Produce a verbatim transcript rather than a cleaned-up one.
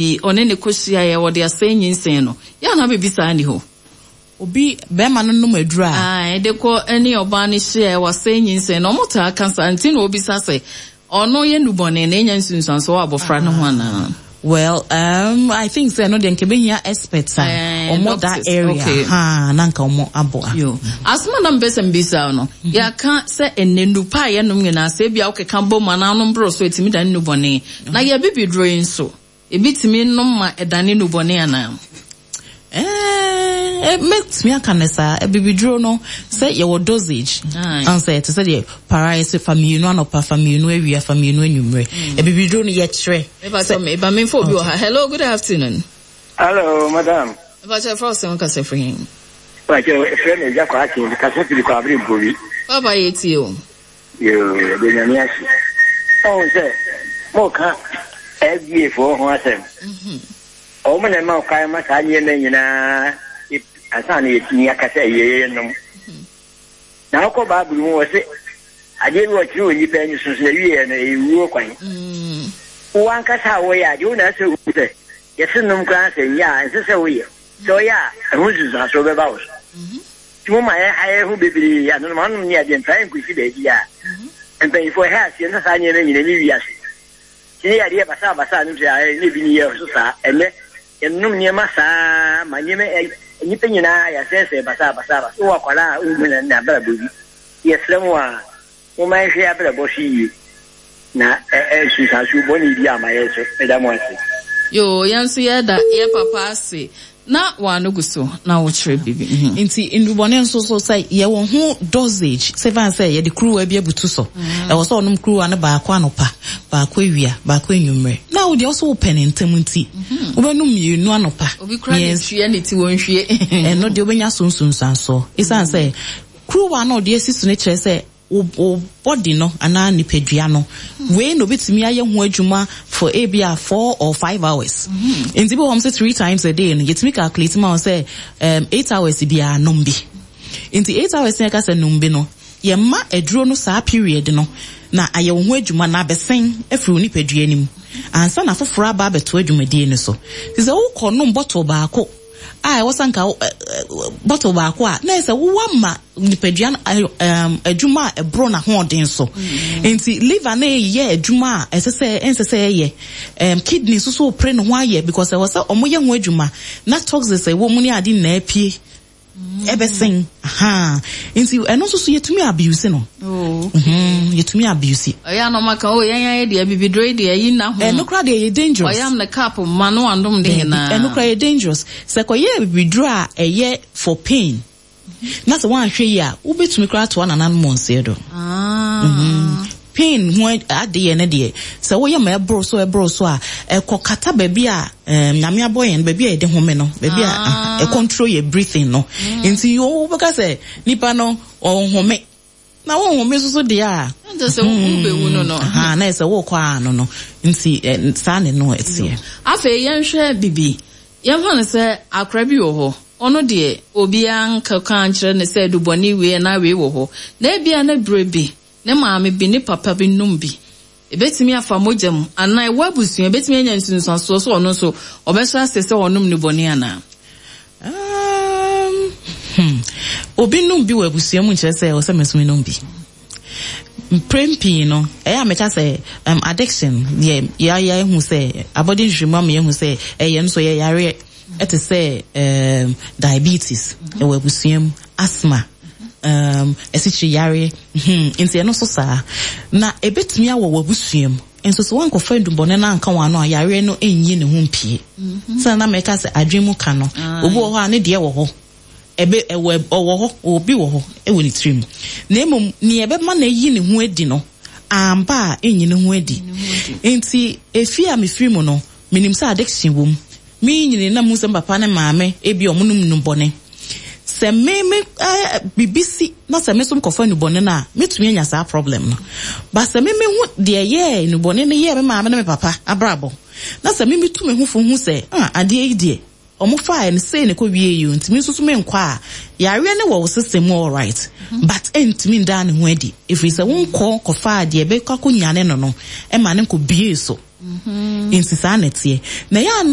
Ɔne ne kɔhyiaeɛ, wɔde asɛe nyinsɛn no. Yɛ anaa biribi saa nni hɔ? Obi bɛrima no nom aduru a. Ae, de kɔ ne ɔbaa no hyiaeɛ, wasɛe nyinsɛn no. Ɔmo taa ka saa, nti na obisa sɛ ɔno yɛ nnubɔne na ɛnya nsunsuansoɔ wɔ abɔfra no ho anaa? Well, um, I think sɛ no deɛ nka bɛhia experts a Eh, ɔmo that doctors, area okay. Ha na nka ɔmo aboa. Yo. Asoma na mpɛ sɛ mbisa no, yɛaka sɛ ɛnɛ nnupa a yɛnom nyinaa, sɛ ebia wokeka bɔ mu anaa nom boro so, ɛtumi dane nnubɔne. Na yɛbibi duro yi nso, ebi tumi nom ma ɛdane nnubɔne anaa? Eh, mɛtumi aka ne saa. Abibiduro no, sɛ yɛwɔ dosage Aye. ansɛ ɛte sɛ deɛ para yɛ sɛ fa mmienu anɔpa, fa mmienu awia, fa mmienu anwummerɛ. Abibiduro no yɛkyerɛ. Ɛba sɛ meba memfa obi wɔ ha. Hello, good afternoon. Hello, madam. Ɛba kyɛ frɛ wo sɛm kasa firi he? Pàṣẹ efrɛ mi Ɛgya Kwakye, kasa firi Kwabere Mpori. Papa, yɛtie o. Yoo, ɛde Nyame ase. Ɔhun sɛ mo ka F D A foɔ ho asɛm. Ɔmo na ɛma ɔkwan ma saa nneɛma nyinaa ansa na yɛtumi aka sɛ ɛyɛ yɛ nom. Na ɔkɔ Baabulu mu, wɔ se adeɛ bi wɔkyerɛ wɔ nipa ani so so na wie no ɛyɛ wuo kwan. Mm. Wo ankasa a wɔyɛ adeɛ wo na ɛsɛ hu sɛ yɛse nom koraa sɛ nyɛ a ɛnsɛ sɛ woyɛ. Sɛ ɔyɛ a, ɛho nsunsuansoɔ bɛba wo so. Nti mo ma yɛha yɛ ho bebree anonom anom ne adeɛ mfa yɛnkɔsi baabi a mpanyinfoɔ ɛhɛ aseɛ na saa nneɛma nyina ne wiase. Nti ne yɛadeɛ basaa basaa nom sɛ ayɛ ne bi ne yɛ so saa. Ɛnɛ yɛnom nneɛma saa ma nneɛma ɛ nnipa nyinaa yɛasɛesɛe basaa basaa basaa. Wowɔ akwadaa a wohu na n'abrabɔ bi. Yɛsrɛ mo a, momma yɛnhwɛ yɛ abrabɔ so yie na ɛ nsunsuansoɔ bɔne bi ama yɛn so. Meda mo ase. Yo, yɛn nso yɛda yɛ papa ase na wano gu so na wokyerɛ biribi. Mhm. Nti ndubɔne nso so, sɛ yɛwɔ ho dosage, sɛ fan sɛ yɛde kuruwa bi abutu so, ɛwɔ sɛ ɔnom kuruwa no baako anɔpa, baako awia, baako anwummerɛ, na wo deɛ ɔso wopɛ ne ntɛm nti wobɛnom mmienu anɔpa. Obi kura ne mmiɛnsa. Hwie ne ti wɔ nhwie. Ɛno deɛ wobɛnya so nsunsuansoɔ, ɛsiane sɛ kuruwa no a ɔde asi so no kyerɛ sɛ wo wo body no anaa nipadua no wei na obetumi ayɛ ho adwuma for ebi a four or five hours. Nti bi wɔ hɔ sɛ three times a day no, yɛtumi calculate ma wɔn sɛ um, eight hours biara nom bi. Nti eight hours na yɛka sɛ nom bi no, yɛma aduro no saa period no na ayɛ wo ho adwuma na abɛsɛn afiri wo nipadua no mu ansa na foforɔ aba abɛto adwumadie no so. Nti sɛ wokɔ nom bottle baako a ɛwɔ sɛ nka wo- ɛ- ɛ- bottle baako a, na ɛsɛ wowɔ ma nipadua no ayɔ- ɛm, adwuma a ɛboro n'ahoɔden so. Nti liver no yɛ adwuma a ɛsɛ sɛ ɛnsɛ sɛ ɛyɛ, ɛm, kidney nso so pere ne ho ayɛ because ɛwɔ sɛ ɔmo yɛ ho adwuma na toxins a ɛwɔ mu ne ade nyinaa pie ɛbɛsɛn aha. Nti ɛno nso so yɛtumi abuse no. Oh. Mhm, yɛtumi abuse. Ɔyɛ anɔma ka o, yɛn ayɛ deɛ bibiduro yi deɛ yi na ho. Ɛno koraa deɛ yɛ dangerous. Ɔyam ne cup ma no andom de Daabi, nyinaa. ɛno koraa yɛ dangerous. Sɛ kɔyɛ bibiduro a ɛyɛ for pain na sɛ woanhwɛ yi a, wobɛtumi koraa atoa nananom nseɛ do. Ah. Pain ho adeɛ no deɛ, sɛ woyɛ ma ɛboro so ɛboro so a, ɛkɔ kata baabi a um, Nyame abɔ yɛn, baabi a yɛde home no, baabi a Ah. ah, ɛcontrol yɛ breathing no. Nti wobɛka sɛ nipa no ɔnhome na wonhome nso so deɛ a, Ɛnkyɛ sɛ wobɛwu no no. Aha, na ɛsɛ wokɔ ano no. Nti eh, saa ne no ɛteɛ. Afei yɛnhwɛ bibi. Yɛmfa no sɛ akora bi wɔ hɔ. Ɔno deɛ, obiara nkeka nkyerɛ ne sɛ dubɔne wei na wei wɔ hɔ. Na ebia ne berɛ bi, ne maame bi, ne papa bi nom bi. Ebetumi afa mogya mu anaa ɛwɔ abusua, ebetumi anya nsunsuansoɔ so ɔno nso ɔbɛhyɛ ase sɛ ɔnom nnubɔne anaa? Um, hmm. Obi nom bi wɔ abusua mu nkyerɛ sɛ ɛwɔ sɛ me nso menom bi. Mprɛn pii no, ɛyɛ a meka sɛ um, addiction yɛ yɛayɛ ehu sɛ abɔde nhwehwɛmu ama yɛhu sɛ ɛyɛ nso yɛ yareɛ, ɛte sɛ um, diabetes ɛwɔ abusua mu, asthma, um, asikyire yareɛ, hmm, nti ɛno nso saa na ebetumi awɔ wɔ abusua mu nso. Sɛ wankɔfa ndubɔne no anka wɔn ano a, yareɛ no nyi ne ho mpie. Sɛ na mɛka sɛ adwene mu ka no, obi wɔ hɔ a ne deɛ wɔ hɔ, ɛbɛ ɛwɔ ɔwɔ hɔ, obi wɔ hɔ ɛwɔ ne tirim, na emom nea ɛbɛma na eyi ne ho adi no amba a enyi ne ho adi. Nti efi a mefiri mu no, menim sɛ addiction wɔ mu. Me nyini na mu sɛ papa ne maame ebi ɔmo nom nnubɔne. Sɛ me me ɛɛ bibi si na sɛ me nso nkɔfa nnubɔne no a, metumi anya saa problem no. Ba sɛ me me ho deɛ yɛɛ nnubɔne no yɛɛ me maame ne me papa abrabɔ, na sɛ me me tu me ho fo hu sɛ, ah, adeɛ yi deɛ ɔmo faa no sei ne kɔ wie yi o, nti me nso so me nkɔ a, yareɛ ne wɔ wo system mu alright, but ɛntumi ndaa ne ho adi, ɛfiri sɛ wonkɔ kɔfaa deɛ ɛbɛkɔ akɔnyane no no ɛma ne nkɔ bie so. Nti saa na ɛteɛ na ɛyɛ.